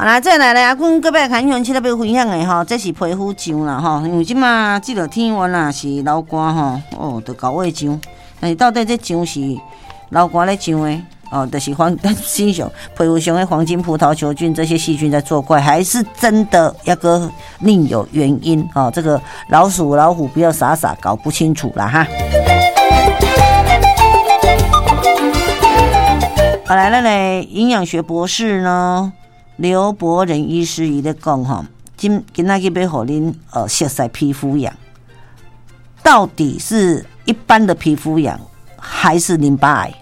來，再來咧，阿君閣欲共鄉親仔欲分享的吼，這是皮膚癢啦吼，因為這馬這個天溫啊是流汗吼，哦，就厚會癢。但是到底這癢是流汗咧癢的，哦，就是黃身上皮膚上的黃金葡萄球菌這些細菌在作怪，還是真的抑閣另有原因？哦，這個老鼠老虎不要傻傻搞不清楚啦哈。好來，咱的營養學博士呢，劉博仁醫師伊咧講吼，今今仔日欲予恁熟似皮膚癢，到底是一般的皮膚癢，還是淋巴癌？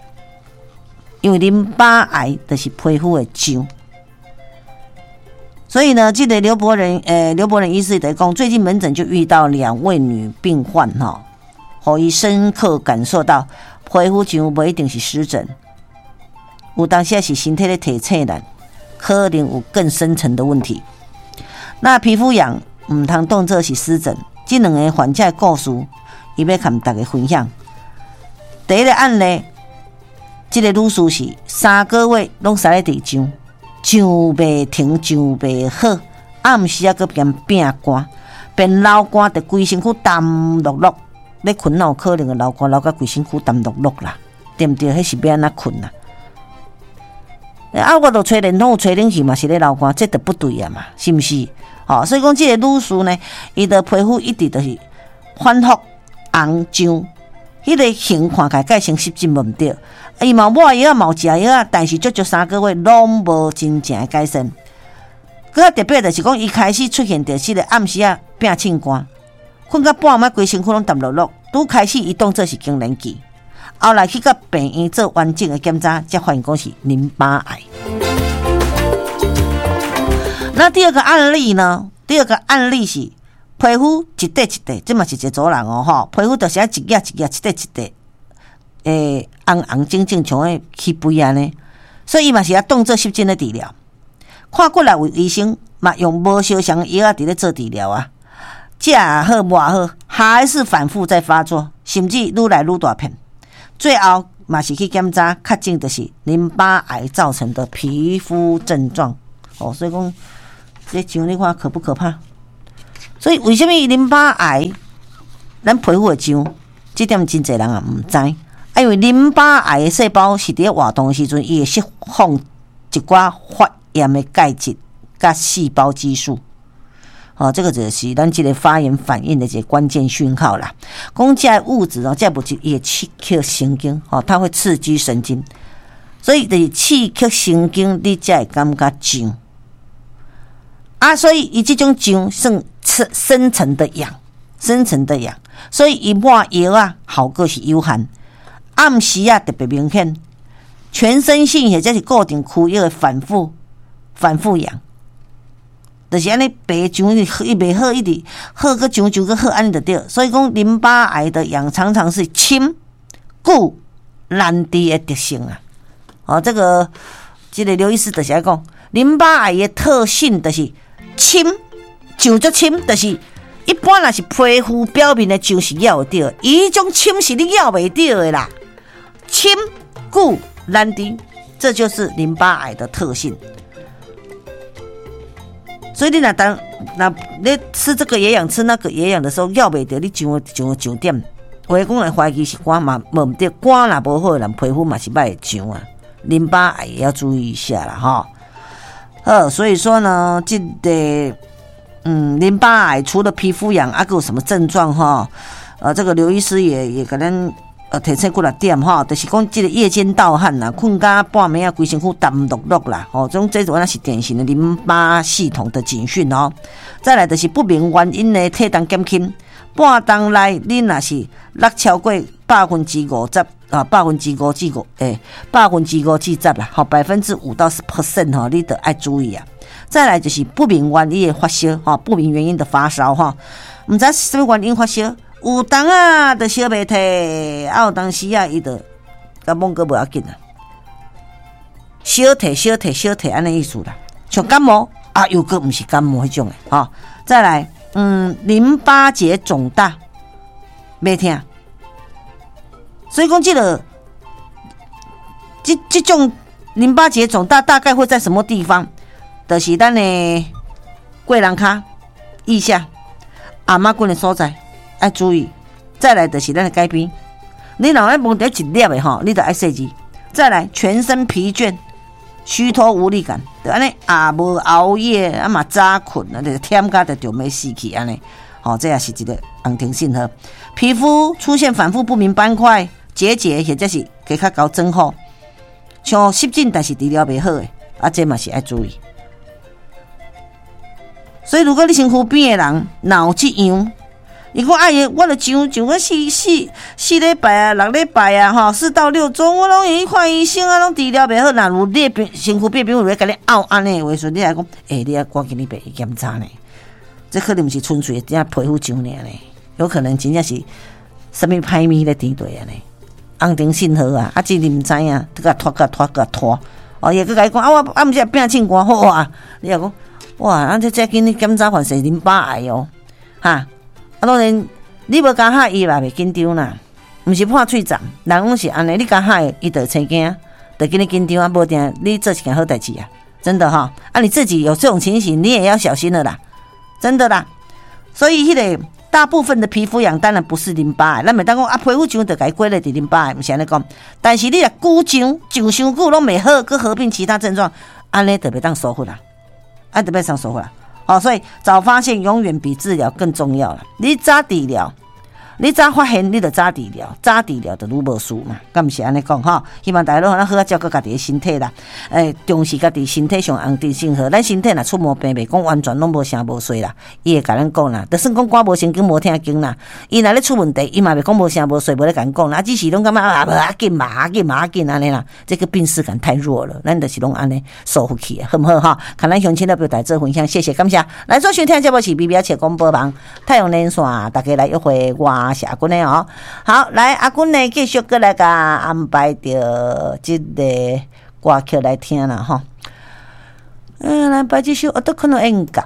因為淋巴癌就是皮膚的癢，所以呢，這個劉博仁醫師在講，最近門診就遇到兩位女病患吼，予伊深刻感受到皮膚癢無一定是濕疹，有當時是身體咧提醒咱，可能有更深層的問題。那皮膚癢毋通當做是濕疹，這兩個患者的故事，伊欲共大家分享。第一個案例，這個女士是3個月攏使咧佇癢，癢袂停，癢袂好，暗時啊閣變變乾，變流汗，就規身軀澹漉漉。咧睏哪有可能會流汗流甲規身軀澹漉漉啦？對毋對？彼是欲按怎睏啊？啊，我著吹電筒，吹冷氣嘛是咧流汗，這就不對啊嘛，是毋是？吼，所以講這個女士呢，伊的皮膚一直就是反覆紅癢，彼個形看起來佮生濕疹無毋對，伊嘛抹藥嘛有食藥啊，但是足足3個月攏無真正的改善。閣較特別就是講，伊開始出現著這個暗時仔變凊汗，睏到半暝規身軀攏澹漉漉，拄開始伊當做是更年期。後來去到病院做完整的檢查，才發現講是淋巴癌。那第二個案例呢？第二個案例是皮膚一塊一塊，這嘛是一個查某人哦吼，皮膚就是按一額一額一塊一塊，紅紅腫腫像彼起肥按呢，所以伊嘛是愛當做濕疹咧治療。看過來位醫生嘛用無相仝的藥仔佇咧做治療啊，食也好抹好，還是反覆在發作，甚至愈來愈大片。最後嘛是去檢查，確診就是淋巴癌造成的皮膚症狀。哦，所以講這癢你看可不可怕？所以為啥物淋巴癌咱皮膚會癢？這點真濟人也毋知。啊，因為淋巴癌的細胞是佇咧活動的時陣，伊會釋放一寡發炎的介質佮細胞激素。哦，這個就是咱這個發炎反應的一個關鍵訊號啦。講這個物質哦，這個物質伊會刺激神經，哦，它會刺激神經，所以就是刺激神經，你才會感覺癢。啊，所以伊這種癢算深層的癢，深層的癢，所以伊抹藥啊，效果是有限。暗時啊特別明顯，全身性或者是固定區域的反覆反覆癢。就是按呢白癢，伊袂好，一直好閣癢癢閣好，按呢就對。所以講淋巴癌的癢常常是深、久、難治的特性啊。哦，這個劉醫師就是愛講，淋巴癌的特性就是深，癢足深，就是一般若是皮膚表面的癢是咬會著，伊種深是你咬袂著的啦。深、久、難治，這就是淋巴癌的特性。所以你若當若你吃這個也癢，吃那個也癢的時候，咬袂著，你癢癢癢點，有的講會懷疑是肝嘛，無毋對，肝若無好的人皮膚嘛是歹會癢啊，淋巴癌也要注意一下啦吼。好，所以說呢，這個淋巴癌除了皮膚癢，啊，閣有什麼症狀吼？這個劉醫師也共咱提醒幾若點吼，就是講這個夜間盜汗啦，睏到半暝啊，規身軀澹漉漉啦，吼，這種那是典型的淋巴系統的警訊哦。再來就是不明原因的體重減輕，半冬內你若是落超過50%啊，百分之五至五，5%至10啦，吼，5%到10% 吼，你著愛注意啊。再來就是不明原因的發燒，吼，不明原因的發燒，吼，毋知是啥物原因發燒。有當啊，就燒袂退，啊有當時啊，伊就感冒閣無要緊啊，小退小退小退按呢意思啦，像感冒啊，又閣毋是感冒彼種的吼。再來，淋巴結腫大，袂疼，所以講這種淋巴結腫大大概會在什麼地方？就是咱的過人跤腋下、頷仔骨的所在愛注意。再來就是咱的改邊，你若愛摸著一粒的吼，你就愛細緻。再來，全身疲倦、虛脫無力感，就按呢啊，無熬夜啊嘛早睏啊，就忝甲就著欲死去按呢。吼，這也是一個紅燈信號。皮膚出現反覆不明斑塊、結節，或者是加較厚增厚，像濕疹，但是治療袂好的，啊，這嘛是愛注意。所以，如果你身軀邊的人若有這樣，伊講哎呀，我著上上個四四四禮拜啊，6禮拜啊，吼，4到6週，我攏會去看醫生啊，攏治療袂好。若有你的身軀邊朋友咧共你拗按呢的話時陣，你來講，欸，你愛趕緊去病院檢查呢？這可能毋是純粹的皮膚癢爾呢，有可能真正是啥物歹物咧佇內啊呢？紅燈信號啊，啊，這你毋知影，閣共拖共拖共拖。哦，伊會閣共你講啊，我啊，毋是變凊汗好啊，你若講哇，啊，這這緊你檢查發現淋巴癌哦，哈，啊，當然你無共嚇伊嘛袂緊張啦，毋是破喙顫，人攏是按呢，你共嚇伊就會生驚，就緊你緊張啊，無定你做一件好代誌啊，真的哈，啊，你自己有這種情形，你也要小心了啦，真的啦。所以彼個大部分的皮膚癢當然不是淋巴癌，咱袂當講啊，皮膚癢就共伊歸類佇淋巴癌，毋是按呢講。但是你若久癢，癢傷久攏袂好，閣合併其他症狀，按呢就袂當疏忽啦，按就袂當疏忽啦。哦，所以早發現永遠比治療更重要啦。你早治療，你早發現，你就早治療，早治療就愈無事嘛。敢毋是按呢講吼？希望大家攏好好照顧家己的身體啦。欸，重視家己身體上紅燈信號。咱身體若出毛病，袂講完全攏無聲無息啦。伊會共咱講啦，就算講肝無神經無聽經啦，伊若咧出問題，伊嘛袂講無聲無息，無咧共咱講啦。只是攏感覺啊，無要緊嘛，要緊嘛，要緊按呢啦。這個病識感太弱了，咱就是攏按呢疏忽去，好毋好哈？看咱鄉親咧表達做分享，謝謝感謝。來做收聽節目是 B B 仔廣播網太陽連線，大家來約會我是阿君的哦。好，來阿君呢繼續閣來共安排著這個歌曲來聽啦吼。嗯，來排這首《男の演歌》。